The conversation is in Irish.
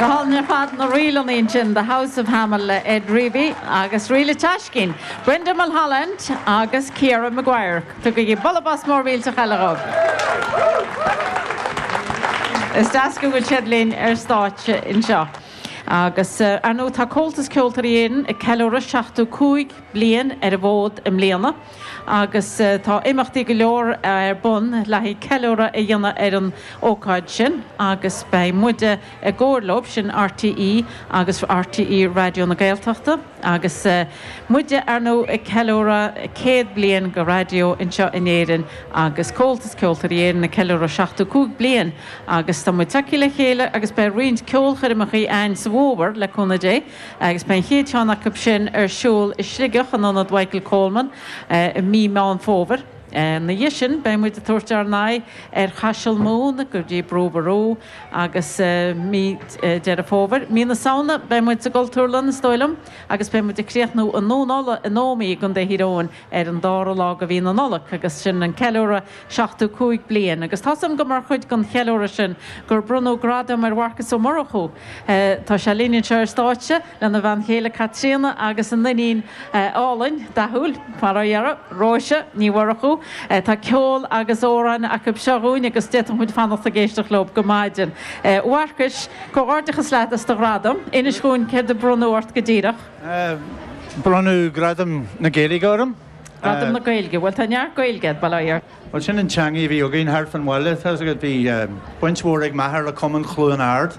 Go hálainn ar fad na ríleanna ansin, The House of Hamel le Ed Reavy agus Ríle Teaiscín, Brenda Mulholland agus Ciara Maguire. Tugaigí bualadh bos mór millteach eile dhóibh. Is deas go bhfuil siad linn ar stáitse anseo. Agus, ar ndóigh, tá Comhaltas Ceoltóirí Éireann ag ceiliúradh 75 bliain ar an bhfód i mbliana agus tá imeachtaí go leor ar bun le haghaidh ceiliúradh a dhéanamh ar an ócáid sin agus beidh muide i gcomhar leo, sin RTÉ agus RTÉ Raidió na Gaeltachta agus muide, ar ndóigh, ag ceiliúradh 100 bliain de raidió anseo in Éirinn agus Comhaltas Ceoltóirí Éireann ag ceiliúradh 75 bliain agus tá muid tagtha le chéile agus beidh roinnt ceolchoirmeacha a'ainn sa bhfómhar, le cúnamh Dé, agus beidh an chéad cheann acu sin ar siúl i Sligeach in Ionad Mhichael Coleman i mí Meán Fómhair. Ina dhiaidh sin beidh muid ag tabhairt ár n-aghaidh ar Chaiseal Mumhan go dtí Brú Ború agus mí Deireadh Fómhair. Mí na Samhna beidh muid sa gCultúrlann is dóigh liom agus beidh muid ag críochnú i nDún Uladh in Ómaigh i gContae Thír Eoghain ar an dara lá de mhí na Nollag agus sin an ceiliúradh 75 bliain agus tá's agam gur mar chuid den cheiliúradh sin gur bronnadh gradam ar Mharcas Ó Murchú. Tá sé linn anseo ar stáitse lena bhean chéile Caitríona agus a n-iníon álainn, dathúil, mar a déarfá, Róise Ní Mhurchú. Tá ceol agus amhráin acu seo dhúinn agus d'fhéadfadh muid fanacht ag éisteacht leo go maidin. A Mharcais, comhghairdeachas leat as do ghradam. Inis dhúinn céard a bronnadh ort go díreach. Bronnadh Gradam na Gaeilge orm. Gradam na Gaeilge. Bhuel, tá neart Gaeilge a'd, bail ó Dhia ort. Bhuel, sin an teangaidh a bhí againn thart fán bhaile. Tá 'fhios agat, bhí baint mhór ag m'athair le Cumann Chluain Ard.